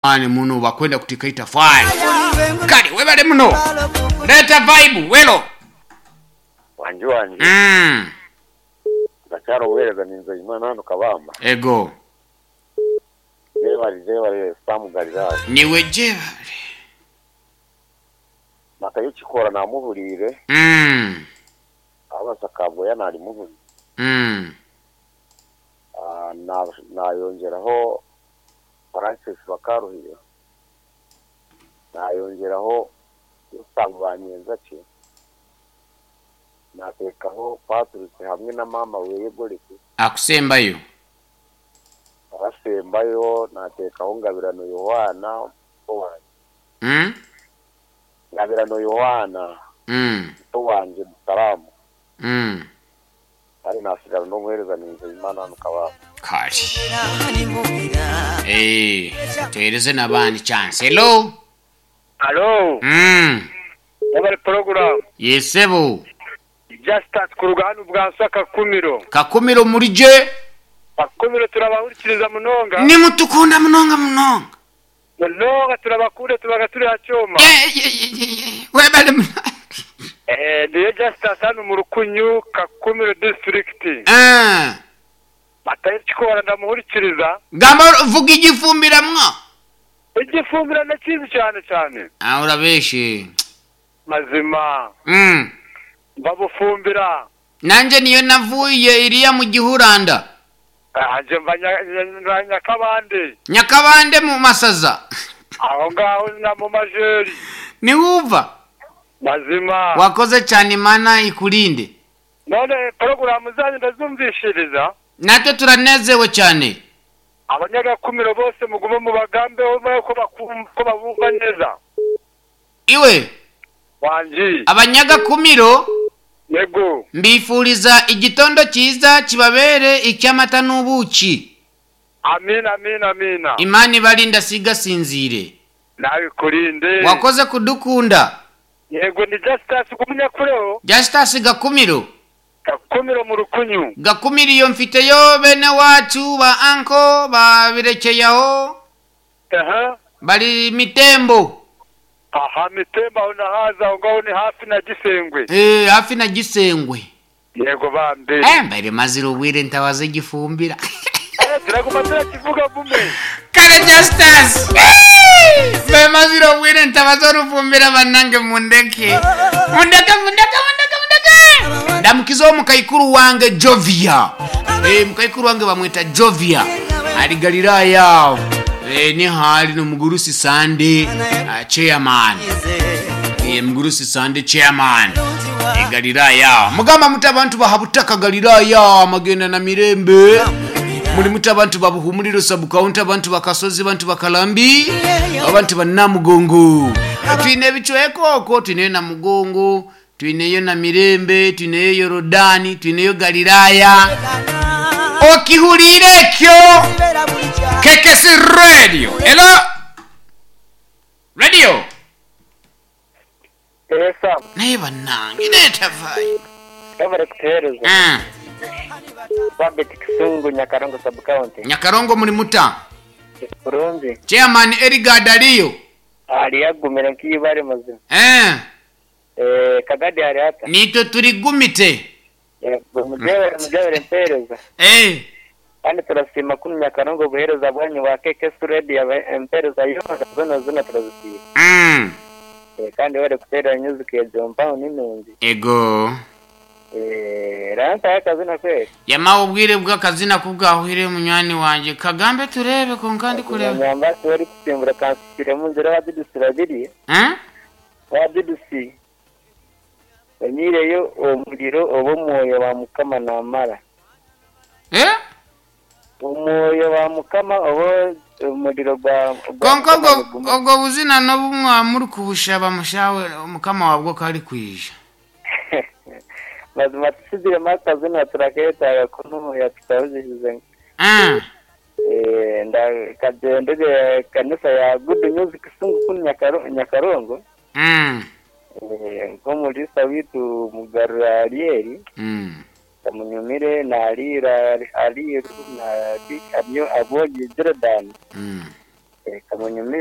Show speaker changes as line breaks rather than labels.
Maani muno bakwenda kutika itafari. Kale webale muno. Leeta vibe welo.
Wangi wangi. Ndakyari obuhereza ninze Imana hanu Kabamba.
Ego.
Jebare jebare Sam Galilaya.
Niwe jebare.
Matayo Kikora namuhuriire. Abasa Kabwoya narimuhuriire. Nayongyeraho Francis Bakaruhire. Nayongyeraho Yosamu Banyenzaki. Nateekaho Patrick hamwe na maama weye Goreti.
Akusembayo.
Arasembayo nateekaho Ngabirano Yohaana muto wangye. Ngabirano Yohaana muto wangye Musalamu. Kandi nasigara n'omuheereza ninze Imana hanu Kabale.
Kale. Eh, tuhereze n'abandi chance. Hello.
Halo, webale puroguramu.
Yes sebo.
Justus kuruga hanu Bwanswa Kakumiro.
Kakumiro muri gye?
Kakumiro turabahurikiriza munonga.
Nimutukunda munonga munonga.
Munonga turabakunda tubaga turi aha kyoma.
Ye, ye, ye, ye, ye. Webale munonga.
Eh, ndiyo Justus hanu mu Rukunyu Kakumiro district.
Ah.
Matayo Kikora ndamuhurikiriza.
Gamba vuga igifumbira mwa.
Igifumbira ndakizi cyane cyane.
Ah, urabeshe.
Mazima. Mbabufumbira.
Nanje niyo navuye iriya mu gihuranda.
Ah, nje mva Nyakabande.
Nyakabande mu Masaza.
Aho ngaho na mu Majeri.
Niwuva.
Mazima.
Wakoze cyane Imana ikurinde.
None porogaramu zanyu ndazumvishiriza.
Natwe turanezewe cyane.
Abanyagakumiro bose mugume mubagambeho ko bakumva ko babumva neza.
Iwe.
Wangi.
Abanyagakumiro.
Yego.
Mbifuriza igitondo cyiza kibabere icy'amata n'ubuki.
Amina amina amina.
Imana ibarinda sigasinzire.
Nawe ikurinde.
Wakoze kudukunda.
Yego ni Justus Gumunyakureho.
Justus Gakumiro.
Gakumiro mu Rukunyu.
Gakumiro iyo mfiteyo bene wacu ba anko ba Birekeyaho.
Aha.
Bari Mitembo.
Aha Mitembo aho nahaza aho ngaho ni hafi na Gisengwe.
Eh, hafi na Gisengwe.
Yego bambe.
Eh, mbere mazira ubwire ntabaze gifumbira.
Eh, turaguma turakivuga gume.
Kare Justus. Mbere mazira ubwire ntabaze rufumbira banange mundeke. Mundeke mundeke mundeke mundeke. Ndamukiza mukaikuru wange Jovia. Eh, mukaikuru wange bamwita Jovia. Ali Galilaya. Eh, ni hali no mugurusi Sande chairman. Eh, mugurusi Sande chairman. E Galilaya. Mugamba muti abantu bahabutaka Galilaya magenda na mirembe. Muli muti abantu babuhumuliro sub county, abantu bakasozi, abantu bakalambi, abantu bannamugongo. Twine ebicweka okwo, twineyo Namugongo, twineyo na Mirembe, twineyo Yorodani, twineyo Galilaya. Okihuriire ekyo KKC Radio. Hello? Radio.
Esa.
Naye bannange neetavaayo.
Webale kutuheereza. Babet Kisungu Nyakarongo sub county.
Nyakarongo muri muta.
Kurungi.
Chairman Edgar Daliyo.
Ali yagumire nk'ibare mazima. Eh, Kagadi ari hata.
Nitwe turi gumite.
Yego, mujebere mujebere mpereza. Kandi turasiima kunu Nyakarongo obuheereza bwanyu bwa KKS Radio empereza yoona zona zona turazisiima. Eh, kandi webale kuteera music egyo mpaho ni nungi.
Ego.
Eh, rantayo akazina kweri.
Yamawe obwire bw'akazina kubwahwire munywani wangye kagambe turebe konka ndi kureba.
Nyamba tiwari kusimbura kansikiremu nzira wadudusi babiri.
Eh?
Wadudusi. Onyireyo omuriro oba omwoyo wa Mukama namara.
Eh?
Omwoyo wa Mukama oba omuriro gwa
Konka obwo obwo buzina n'obumwa muri kubushaba mushawe Mukama wabwo kari kwija.
Mazima tusigiremu akazina turaketaaga kunuya tutabuzihize. Eh, nda kagyendere kanisa ya Good News Kisungu kunu Nyakarongo. Eh, nk'omurisa witu Mugarura Ariel. Kamunyumire na Alira Aliru na Amyo Abogi Jordan. Kamunyumize.